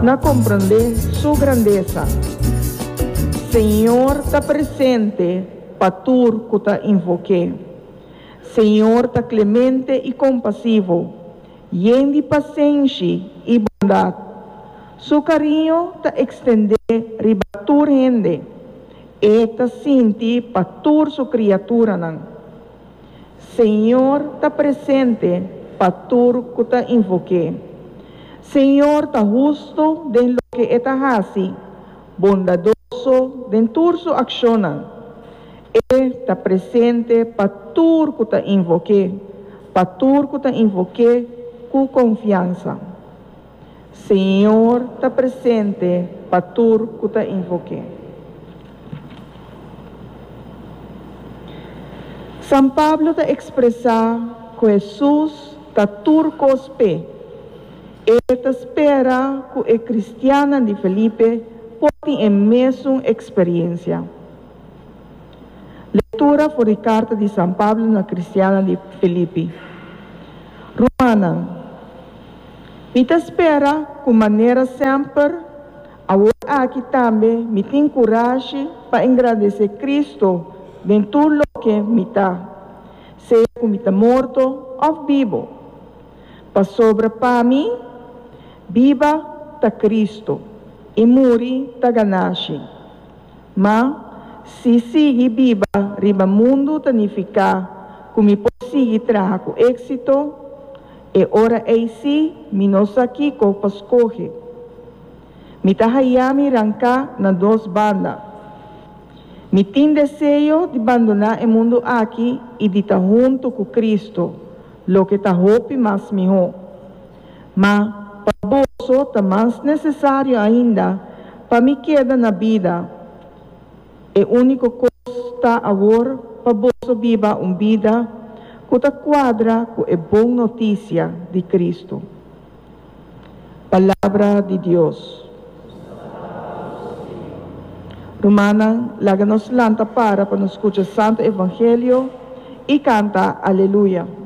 na komprondé Su grandesa. Señor ta presente pa tur ku ta invok'é. Señor ta klemente i kompasivo, yen di pasenshi i bondat. Su kariño ta ekstendé riba tur hende. E ta sinti pa tur su kriaturanan. Señor ta presente pa tur ku ta invok'é. Señor ta hustu den loke e ta hasi, bondadoso den tur su akshonnan. E ta presente pa tur ku ta invok'é, pa tur ku ta invok'é ku konfiansa. Señor ta presente pa tur ku ta invok'é. San Pablo ta ekspresá ku Hesus ta tur kos p'e. E ta spera ku e kristiannan di Felipe por tin e mesun eksperiensia. Lektura for di karta di San Pablo na kristiannan di Filipi. Rumannan, mi ta spera ku manera semper, awor aki tambe mi tin kurashi pa engrandesé Kristu den tur loke mi ta, sea ku mi ta morto òf bibu. Pasobra pa mi, biba ta Kristu i muri ta ganashi. Ma, si sigui biba riba mundu ta nifiká ku mi por sigui traha ku éksito, e ora ei sí mi no sa kiko pa skohe. Mi ta haña mi ranká na dos banda. Mi tin deseo di bandoná e mundu aki i di ta huntu ku Kristu, loke ta hopi mas mihó. Ma pa boso ta mas nesesario ainda pa mi keda na bida. E úniko kos ta awor pa boso biba un bida ku ta kuadra ku e bon notisia di Kristu. Palabra di Dios. Rumannan, laga nos lanta para pa nos skucha Santu Evangelio i kanta Aleluya.